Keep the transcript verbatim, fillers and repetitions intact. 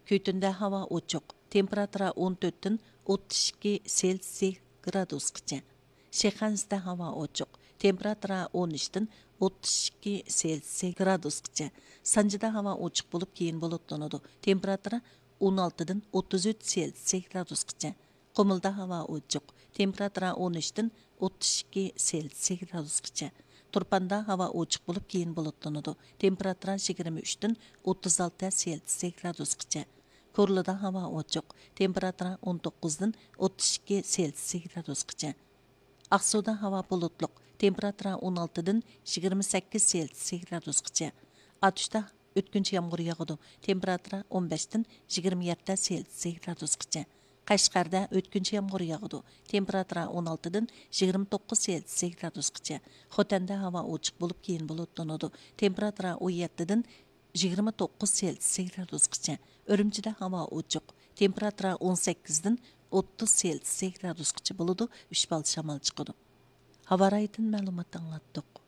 كۈتۈندە ھاۋا ئوچۇق، تېمپېراتۇرا ئون تۆتتىن ئوتتۇز ئىككى سېلسىيە گرادۇسقىچە. شىخەنزىدە ھاۋا ئوچۇق، تېمپېراتۇرا ئون ئۈچتىن ئوتتۇز ئىككى سېلسىيە گرادۇسقىچە. سانجىدا ھاۋا ئوچۇق بولۇپ، كېيىن بۇلۇتلىنىدۇ، تېمپېراتۇرا ئون ئالتىدىن ئوتتۇز ئۈچ سېلسىيە گرادۇسقىچە. قۇمۇلدا ھاۋا ئوچۇق، تېمپېراتۇرا ئون ئۈچتىن ئوتتۇز ئىككى سېلسىيە گرادۇسقىچە. تۇرپاندا ھاۋا ئوچۇق بولۇپ، كېيىن بۇلۇتلىنىدۇ، تېمپېراتۇرا يىگىرمە ئۈچتىن ئوتتۇز ئالتە سېلسىيە گرادۇسقىچە. كورلىدا ھاۋا ئوچۇق، تېمپېراتۇرا ئون توققۇزدىن ئوتتۇز ئىككى سېلسىيە گرادۇسقىچە. ئاقسۇدا ھاۋا بۇلۇتلۇق، تېمپېراتۇرا ئون ئالتىدىن يىگىرمە سەككىز سېلسىيە گرادۇسقىچە. ئاتۇشتا ئۆتكۈنچى يامغۇر ياغىدۇ، تېمپېراتۇرا ئون بەشتىن يىگىرمە يەتتە سېلسىيە گرادۇسقىچە. قەشقەردە ئۆتكۈنچى يامغۇر ياغىدۇ، تېمپېراتۇرا ئون ئالتىدىن يىگىرمە توققۇز سېلسىيە گرادۇسقىچە. خوتەندە ھاۋا ئوچۇق بولۇپ، كېيىن بۇلۇتلىنىدۇ، تېمپېراتۇرا ئون يەتتىدىن يىگىرمە توققۇز سېلسىيە گرادۇسقىچە. ئۈرۈمچىدە ھاۋا ئوچۇق، تېمپېراتۇرا ئون سەككىزدىن ئوتتۇز سېلسىيە گرادۇسقىچە بولىدۇ، ئۈچ بال شامال چىقىدۇ. ھاۋا رايىدىن مەلۇمات ئاڭلاتتۇق.